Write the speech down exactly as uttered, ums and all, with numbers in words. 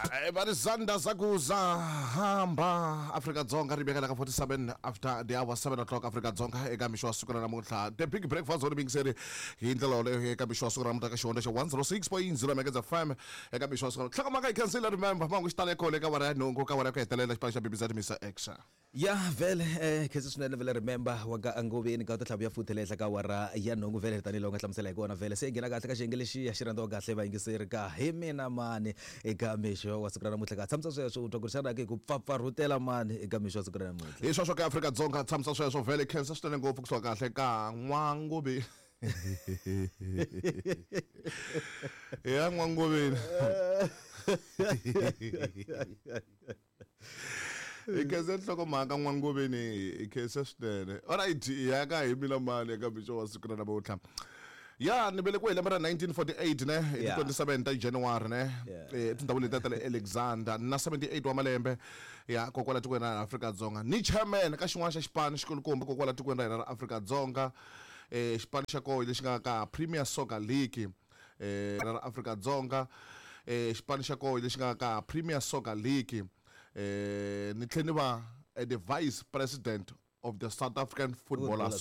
Eh, va ri zanda zakuza hamba Afrika-Dzonga ri vekela ka forty-seven after the hour seven o'clock Afrika-Dzonga eka mixo wa siku ra namuntlha. The Big Breakfast ho yingiseri hi ndlela yoleyo eka mixo wa siku ra namuntlha ka xihondzo xa one oh six point zero Megahertz F M eka mixo wa siku. Nhlokomhaka yi khensile. Remember, mangu xi tale kona eka wara ya nhungu, ka wara ya ku hetelela, xipano xa B B Z Mister X. Ya vhele, eh khensa swinene vhele. Remember wa ka Ngoveni ka ta tlhavu ya futhi le henhla ka wara ya nhungu vhele, tanihiloko nga hlamusela hi kona vhele. Se hi nghena kahle ka xiyenge lexiya xi rhandziwa kahle vayingiseri ka hi mina mani eka mixo wa siku ra namuntlha. Ka tshamisa sweswo, u twa ku ri xana ke ku pfapfarhutela mani eka mixo wa siku ra namuntlha? Hi sweswo ka Afrika-Dzonga, tshamisa sweswo vhele. Khensa swinene ngopfu kusuka kahle ka N'wangovi ya N'wangoveni. Hi khense nhlokomhaka N'wangoveni, hi khense swinene. Alright, hi ya ka hi mina mani eka mixo wa siku ra namuntlha. Ya ni velekiwe hi lembe ra nineteen forty-eight ne, hi ti Yeah. twenty-seven ta January ne, Yeah. eh, tindhawu letiya ta le Alexander, na seventy-eight wa malembe ya kokwala tikweni ra Afrika-Dzonga. Ni chairman ka xin'wana xa xipano xikulukumba kokwala tikweni ra hina ra Afrika-Dzonga, eh xipano xa koho lexi nga ka Premier Soccer League eh ra Afrika-Dzonga, eh xipano xa koho lexi nga ka Premier Soccer League. eh ni tlhela ni va eh, the vice president of the South African Football Football.